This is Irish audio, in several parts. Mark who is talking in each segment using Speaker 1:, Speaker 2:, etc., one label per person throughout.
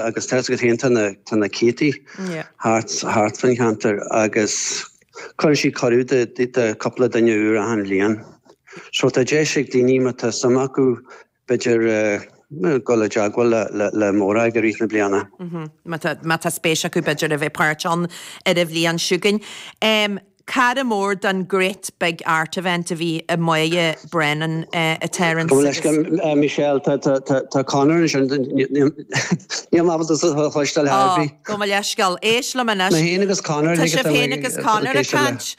Speaker 1: Agus tá 'fhios agat féin, tá na, tá na céadtaí thart, thart faoin cheantar agus cuireann siad cuireadh do, do, do cúpla duine úr achan bhliain. So tá deis ag daoine má tá suim acu b'fhéidir dul i dteagmháil le, le, le Morag i rith na bliana.
Speaker 2: Má tá, má tá spéis acu b'fhéidir a bheith páirteach ann ar an bhliain seo chugainn. Cara mór don Great Big Art Event a bhí i Moya Brennan, a Terence.
Speaker 1: Gabh mo leithscéal, Michelle, tá Conor ansin, níl mé ábalta tú a chloisteáil ar
Speaker 2: bith. Ó, gabh mo leithscéal. Éist liom anois.
Speaker 1: Mé féin agus Conor.
Speaker 2: Tá sibh féin agus Conor ag caint.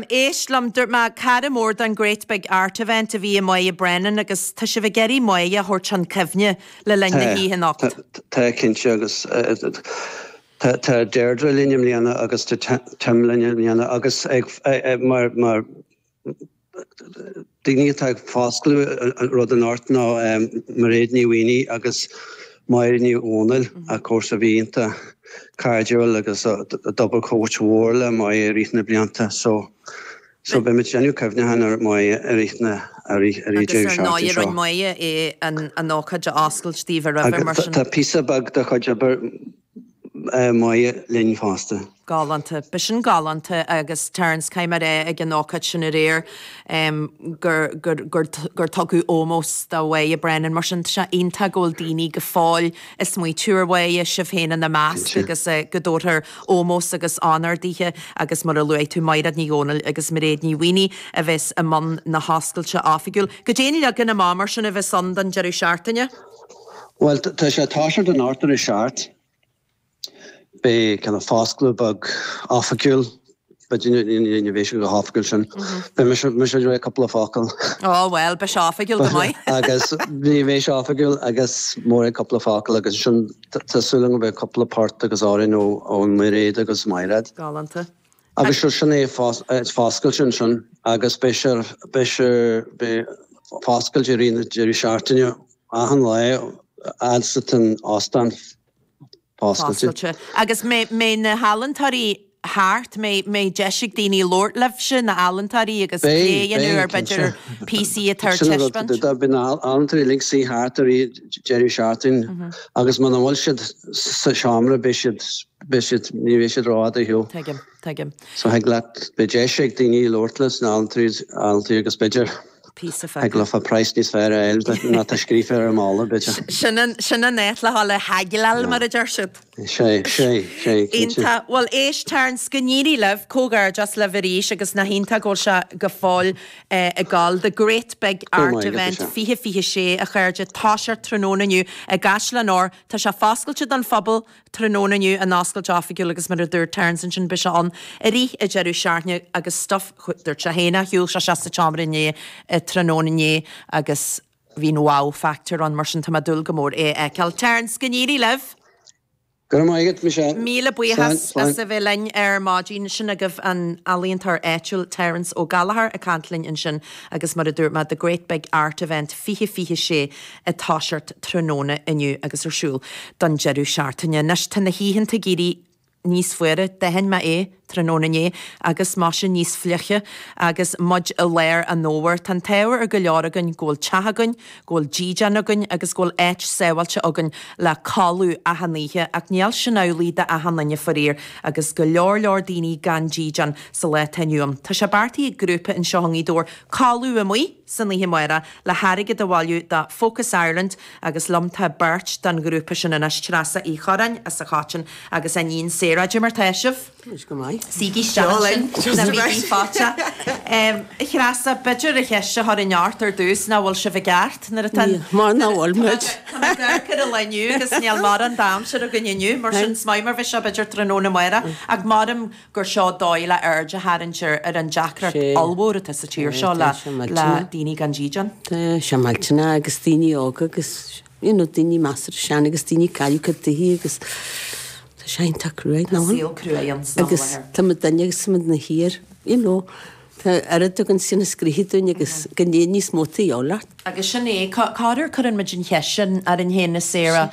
Speaker 2: Éist liom, dúirt mé cara mór don Great Big Art Event a bhí i Moya Brennan agus tá sibh ag iarraidh Moya a thabhairt chun cuimhne le linn na hoíche anocht.
Speaker 1: Tá, cinnte, agus Tá Deirdre linn i mbliana agus tá Tim linn i mbliana agus ag mar mar daoine atá ag foscladh an rud anocht ná Mairéad Ní Mhaonaigh agus Máire Ní Dhomhnaill of course a bhí iontach cairdiúil agus a d'obair cuid mhór le Moya i rith na blianta so So beidh muid ag déanamh cuimhneacháin ar Moya i rith na, i rith, i rith
Speaker 2: Agus
Speaker 1: deireadh
Speaker 2: ar
Speaker 1: seachtaine
Speaker 2: ndóigh
Speaker 1: seo.
Speaker 2: rinne Moya é an, an ócáid a oscailt daoibh roimhe mar
Speaker 1: Agus
Speaker 2: sin.
Speaker 1: tá píosa beag de chuid obair Moya linn fosta.
Speaker 2: Galánta. B'shin galánta agus Terence, caithfidh mé a rá ag an ócáid sin aréir gur, gur, gur, gur tugadh ómós do Mhoya Brennan mar sin tá sé iontach go bhfuil daoine go fóill ag smaoitiú ar Mhoya, sibh féin ina measc
Speaker 1: Cinnte.
Speaker 2: agus go dtabharfar ómós agus onóir dithe agus mar a luaigh tú, Mairéad Ní Dhomhnaill agus Mairéad Ní Mhaonaigh a bheas i mbun na hoscailte oifigiúil. Goidé an leagan amach mar sin a bheas ann don deireadh seachtaine?
Speaker 1: Bhuel, tá sé ag toiseacht anocht ar a seacht. Beidh kind of foscladh beag oifigiúil, b'fhéidir ní bheidh sé go hoifigiúil sin. Beidh mise, mise ag rá cúpla focal.
Speaker 2: Ó bhuel, beidh sé oifigiúil go maith.
Speaker 1: Agus ní bheidh sé oifigiúil agus Mairéad cúpla focal agus ansin Tá súil agam go mbeidh cúpla port agus amhrán ó Mhairéad agus Mairéad.
Speaker 2: Galánta.
Speaker 1: Agus seo sin é foscailte ansin agus beidh sé beidh sé beidh foscailte i rith na deireadh seachtaine achan lá fhad is atá an óstán foscailte.
Speaker 2: Foscailte. Agus mbeidh na healaíontóirí thart, mbeidh deis ag daoine labhairt libhse, na healaíontóirí agus plé a dhéanamh ar b'fhéidir píosaí atá ar taispeáint.
Speaker 1: Beidh na healaíontóirí uilig suí thart i rith deireadh seachtaine agus muna bhfuil siad sa seomra beidh siad, beidh siad, ní bheidh siad rófhada ar shiúl.
Speaker 2: Tuigim, tuigim.
Speaker 1: So thig leat, beidh deis ag daoine labhairt leis na healaíontóirí agus b'fhéidir
Speaker 2: píosa
Speaker 1: thig leofa praghas níos fearr a fháil ná tá scríofa ar an mballa, b'fhéidir.
Speaker 2: Sin an, sin an áit le dhul le haigleáil mar a deir siad.
Speaker 1: Sé, sé, sé, cinnte.
Speaker 2: Iontach. Bhuel, éist, Terence, go n-éirí libh, comhghairdeas libh arís agus nach iontach go bhfuil sé go fóill ag gabháil. The Great Big Art Event 2026, a chairde, toiseacht tráthnóna inniu i gCaisleán Óir. Tá sé foscailte don phobal tráthnóna inniu, an oscailt oifigiúil agus mar a dúirt Terence ansin beidh sé ann i rith an deireadh seachtaine agus stuff, dúirt sé féin, shiúil sé isteach sa tseomra inné, tráthnóna inné agus Bhí an wow factor ann, mar sin tá mé ag dúil go mór é a fheiceáil. Terence, go n-éirí libh!
Speaker 1: Go raibh maith agat, Michelle.
Speaker 2: Míle buíochas as a bheith linn ar maidin. Sin agaibh an ealaíontóir áitiúil Terence Ó Gallchóir ag caint linn ansin agus mar a dúirt mé, The Great Big Art Event 2026 ag toiseacht tráthnóna inniu agus ar siúl don deireadh seachtaine. Anois tá na hoícheanta ag éirí níos fuaire, d'aithin mé é tráthnóna inné, agus maise níos fliche agus muid i lár an fhómhair. Tá an t-ádh ar go leor againn go bhfuil teach againn, go bhfuil dídean againn agus go bhfuil áit sábháilte againn le codladh achan oíche, ach níl sin amhlaidh d'achan duine faraor, agus go leor leor daoine gan dídean sa lá atá inniu ann. Tá sé beartaithe ag grúpa anseo i nGaoth Dobhair codladh amuigh san oíche amárach le hairgead a bhailiú do Focus Ireland Agus liom tá beirt den ghrúpa sin anois, Treasa Uí Chorráin as an Choiteann agus a iníon Sarah. Cad é mar tá sibh?
Speaker 3: Táimid go maith.
Speaker 2: Suígí isteach ansin, ná bígí faitíoch. A Threasa, b'fhéidir an cheist a chuirfinn ort ar dtús, nach bhfuil sibh i gceart nuair atá an.
Speaker 3: Mar nach bhfuil muid.
Speaker 2: Tá mé ag amharc ar an lá inniu agus níl mórán d'aimsir againn inniu, mar sin is maith mar bheidh sé b'fhéidir tráthnóna amárach, ach maram gur seo dóigh le aird a tharraingt ar an deacracht ollmhór atá sa tír seo le daoine gan dídean.
Speaker 3: Tá sé millteanach agus daoine óga agus you know daoine measartha sean agus daoine ag cailleadh cuid tithe agus tá sé iontach cruaidh
Speaker 2: Tá saol cruaidh ann san am
Speaker 3: Agus
Speaker 2: láthair.
Speaker 3: tá muid duine agus tá muid na thiar you know tá oiread againn sin a scríobh dúinn agus go ndéan níos mó taobh leat.
Speaker 2: Agus sin é, corruair cuireann muid an cheist sin orainn féin a Sarah,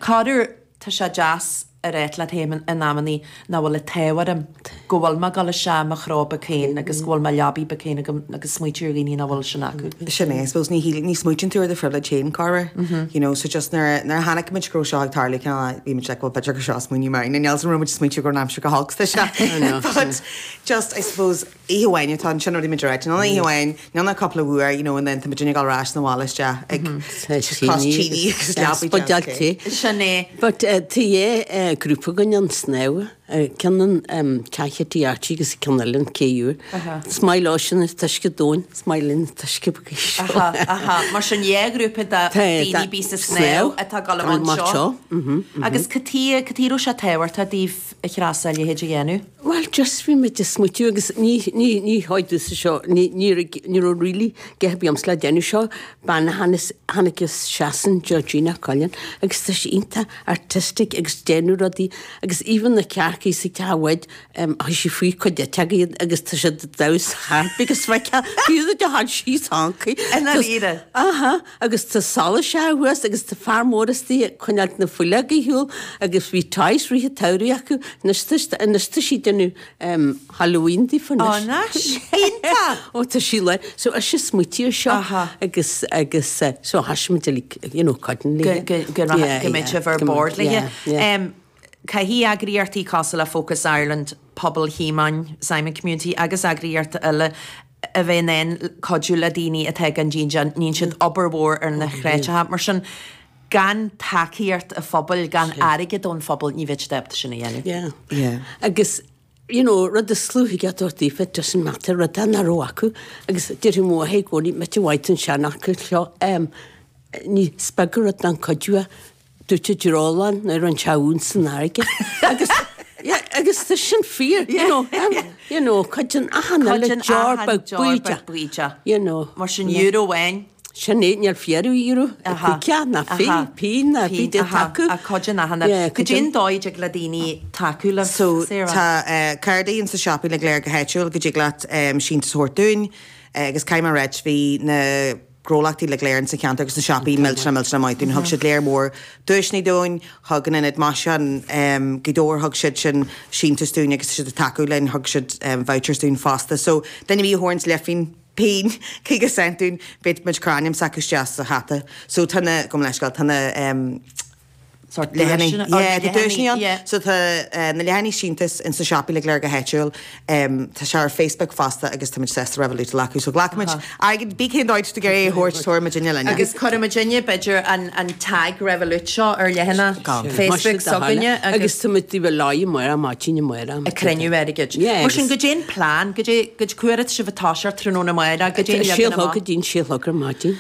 Speaker 2: corruair tá sé deas a ráit leat féin in amannaí nach bhfuil an t-ádh orm. go bhfuil mé ag dul isteach i mo chró beag féin agus go bhfuil mo leabaidh beag féin agam agus smaoitiú ar dhaoine nach bhfuil sin acu.
Speaker 4: Sin é, I suppose ní shíl, ní smaoitíonn tú ar do phribhléid féin, corruair, you know, so just nuair a, nuair a chonaic muid go raibh seo ag tarlú, cineál, bhí muid like, well b'fhéidir gur seo smaoineamh maith, níl 's an raibh muid ag smaoitiú go raibh an aimsir go holc, tá sé, but just, I suppose, oíche amháin atá ansin, rud a bhí muid ag ráit, níl ach oíche amháin, níl ach cúpla uair, you know, and then tá muid ag dul ar ais 'na bhaile isteach ag cos tine agus leabaidh deas.
Speaker 2: Sin é.
Speaker 3: But tá dhá grúpa againn ann snámha. Ceann an teach Tí Archie agus ceann eile an Cé Úr. Is maith leo sin an t-uisce domhain, is maith linn an t-uisce beag seo.
Speaker 2: Aha, aha. Mar sin dhá ghrúpa de daoine bíos ag snámh atá ag dul amach anseo. Agus cad chuige, cad chuige a raibh sé tábhachtach daoibh a Threasa a leithéid a dhéanamh?
Speaker 3: Bhuel just bhí muid ag smaoitiú agus ní, ní, ní háit domhsa seo, ní, ní raibh, ní raibh really a dhath ar bith agamsa le déanamh seo, bean a tháinig, tháinig as Sasain, Georgina Cullen, agus tá sí iontach artistic agus déanamh rudaí agus even na cearcaí sa teach bhaid, chuir sí faoi cuid eiteoga iad agus tá siad ag damhsa thart because bheadh fiú de thar síos hancaí.
Speaker 2: I ndáiríre?
Speaker 3: Aha. Agus tá solas sé thuas agus tá fear mór istigh ag coinneáilt na fuileoga ar shiúl agus bhí toys rith an tsamhraidh acu anois tá anois tá sí ag déanamh Halloween daofa
Speaker 2: anois. Anois? Iontach!
Speaker 3: Ó tá sí le so is ise smaoitigh ar seo agus agus so thoisigh muid uilig you know cuidiú
Speaker 2: léi. Go go go mbeidh sibh ar bord léi. Caithfidh eagraíochtaí cosúil le Focus Ireland, Pobal Shíomóin, Simon Community agus eagraíochtaí eile a bheith in ann cuidiú le daoine atá gan díon. Déanann siad obair mhór ar na createacha. Mar sin, gan tacaíocht an phobail, gan airgead ón phobal, ní bheidh siad ábalta sin a dhéanamh.
Speaker 3: Yeah. Yeah. Agus, you know, rud is luaithe a dúirt daofa, it doesn't matter, rud nach raibh acu. Agus déarfaidh mo mháthair i gcónaí, mite mhaith an seanfhocal seo, em, ní, is beag an rud an cuidiú é. Dúirt an dreolán nuair an teamhain san fharraige agus yeah agus tá sin fíor you know you know cuidíonn achan uile deoir beag bídeach you know.
Speaker 2: Mar sin euro amháin.
Speaker 3: Sin é níl fíor euro cúigear ná pingin ná bídeach tacú.
Speaker 2: Ach cuidíonn achan uile. Cad é an dóigh a dtig le daoine tacú libh
Speaker 4: So tá cártaí ins na siopaí uilig go léir go háitiúil go dtig leat síntiús a thabhairt dúinn agus caithfidh mé a ráit bhí na gnólachtaí uilig go léir insa cheantar agus na siopaí millteanach millteanach maith dúinn. Thug siad léar mór duaiseanna dúinn, thug an Ionad Maisiúcháin Gaoth Dobhair, thug siad sin síntiús dúinn agus tá siad ag tacú linn, thug siad vouchers dúinn fosta. So duine ar bith a thabharanns leithphingin, pingin, 50 cent dúinn, beidh muid ag cur ainm s'acu isteach sa hata. So tá na, gabh mo leithscéal, tá na.
Speaker 2: Sórt
Speaker 4: Leathanaigh.
Speaker 2: duaiseanna.
Speaker 4: Yeah, tá duaiseanna ann.
Speaker 2: Yeah.
Speaker 4: So tá na leathanaigh síntiús ins na siopaí uilig go léir go háitiúil. Tá sé ar Facebook fosta agus táimid sásta Revolut a ghlacadh. So glacfaimid airgead, bí cén dóigh tú ag iarraidh é a thabhairt, tabharfaidh muidinne linn é.
Speaker 2: Agus cuirfidh muidinne, b'fhéidir, an an tag Revolut seo ar leathanach Facebook s'againne
Speaker 3: agus. Agus táimid taobh le lá amárach, maidin amárach.
Speaker 2: Ag cruinniú airgid.
Speaker 3: Yeah.
Speaker 2: Mar sin, goidé an plean, goidé, goidé cá huair atá sibh ag toiseacht tráthnóna amárach, goidé an
Speaker 3: Sé
Speaker 2: leagan
Speaker 3: a chlog
Speaker 2: amach?
Speaker 3: go dtí'n sé a chlog ar maidin.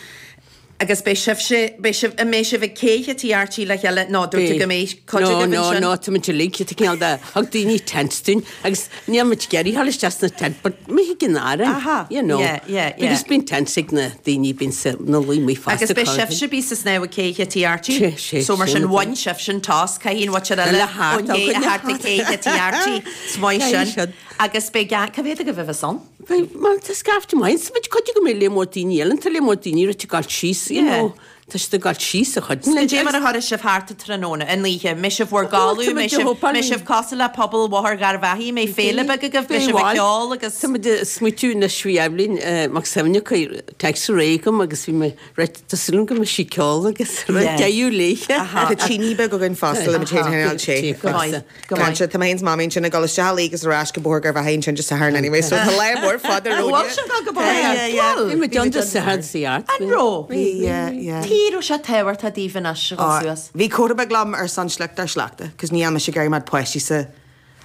Speaker 2: Agus beidh sibhse, beidh sibh, an mbeidh sibh ag cé Tí Archie le chéile? Nó dúirt tú go mbeidh cuid
Speaker 3: No,
Speaker 2: agaibh
Speaker 3: no,
Speaker 2: ansin?
Speaker 3: no, tá muid uilig, tá cineál de, thug daoine tents dúinn agus níl muid ag iarraidh dhul isteach sna tent but mé ag an aire,
Speaker 2: Aha,
Speaker 3: you know.
Speaker 2: yeah, yeah, yeah.
Speaker 3: Because bíonn tents ag na daoine, bíonn sa, na luí amuigh fosta.
Speaker 2: Agus beidh sibhse bíos sa snámh ag cé Tí Archie?
Speaker 3: Sé, sé,
Speaker 2: So mar
Speaker 3: sé
Speaker 2: sin
Speaker 3: na
Speaker 2: bhain sibhse an toss, caithfidh an mhuintir eile
Speaker 3: Le hart
Speaker 2: ón gcé
Speaker 3: againne.
Speaker 2: a theacht ag cé Tí Archie, is maith
Speaker 3: Caithfidh
Speaker 2: sin.
Speaker 3: siad.
Speaker 2: Agus beidh, cá mhéad agaibh a bheas ann?
Speaker 3: Beidh, mar tá scaifte maith ann, muid cuid go mbeidh léar mór daoine eile, tá léar mór daoine rite ag gabháil síos, you know, tá siad ag gabháil síos a chuid.
Speaker 2: Cad é mar a chuirfidh sibh thart an tráthnóna, an oíche, mbeidh sibh bhur gcodladh, mbeidh sibh, mbeidh sibh cosúil le pobal Bhóthar Gharbhachaidh, mbeidh féile beag agaibh, beidh sibh ag ceol agus.
Speaker 3: Tá muid ag smaoitiú anois bhí Eibhlín Mac Suibhne ag cur text aréir agam agus bhí mé right, tá súil agam go mbeidh sí ag ceol agus deireadh léi.
Speaker 4: Tá tine beag againn fosta le muid féin a choinneáil te.
Speaker 2: Go maith. Go maith.
Speaker 4: Cinnte, tá mé féin 's Mamaí ansin ag dul isteach uilig agus ar ais go Bóthar Gharbhachaidh ansin Dé Sathairn anyway, so tá lá mór fada romhainn.
Speaker 2: Bhfuil sibh ag dul go Bóthar Gharbhachaidh? Bhfuil?
Speaker 3: Bhí muid ann Dé Sathairn sa Art.
Speaker 2: An raibh?
Speaker 4: Bhí, yeah, yeah.
Speaker 2: Cad chuige raibh sé tábhachtach daoibh anois a dhul suas?
Speaker 4: Bhí comhrá beag liom ar son sliocht ár sleachta, 'cause níl mise ag iarraidh mar páistí sa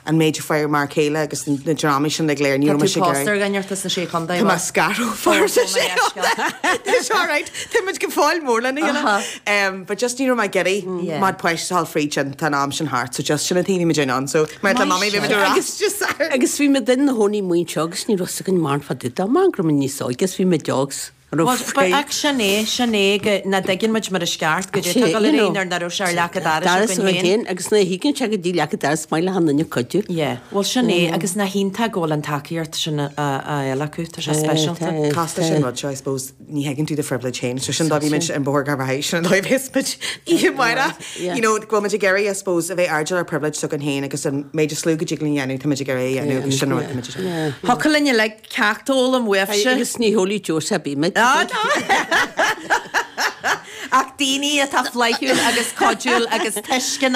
Speaker 4: an méid a fuair m'fhear céile agus na drámaí sin uilig go léir, ní
Speaker 2: Tá
Speaker 4: raibh
Speaker 2: tú
Speaker 4: mise ag
Speaker 2: pósta
Speaker 4: iarraidh.
Speaker 2: ar dhuine as na Sé Chontae,
Speaker 4: Tá mé
Speaker 2: bhfuil?
Speaker 4: scartha ó sa Sé Chontae. Tá sé alright. Tá muid go fóill mór lena chéile.
Speaker 2: Aha.
Speaker 4: But just ní raibh mé ag iarraidh
Speaker 2: Yeah.
Speaker 4: mar páistí a dhul fríd sin, tá an am sin thart, so just sin an taobh bhí muid in ann. So mar le mamaí bhí muid ar ais Dé Sathairn.
Speaker 3: Agus bhí muid ina chónaí amuigh anseo agus ní raibh 's againn mórán fá dtaobh dó, mar go raibh muid níos óige agus bhí muid óg.
Speaker 2: Bhuel, ach sin é, sin é go, nach dtuigeann muid mar is ceart, goidé atá ag dul ar aghaidh nuair nach raibh sé ar leac an dorais againn féin.
Speaker 3: Agus nuair a thuigeann sé go dtí leac an dorais maith le han duine cuidiú.
Speaker 2: Yeah, bhuel sin é, agus nach iontach go bhfuil an tacaíocht sin á fháil acu, tá sé speisialta.
Speaker 4: Casta sin rud seo, I suppose, ní thuigeann tú do phrivilege féin, so sin dóigh bhí muid ar an bhóthar Garvaghy, sin an dóigh a bheas muid oíche amárach, you know, go bhfuil muid ag iarraidh, I suppose, a bheith airdeall ar privilege s'againn féin agus an méid is lú go dtig linn a dhéanamh, tá muid ag iarraidh a dhéanamh agus sin an rud tá muid ag déanamh.
Speaker 2: Thiocfadh linn uilig Ceacht a fhoghlaim uaibhse.
Speaker 3: Agus ní hólfaidh Joe sa bímid.
Speaker 2: Ach daoine atá flaithiúil agus cuidiúil agus tuisceanach.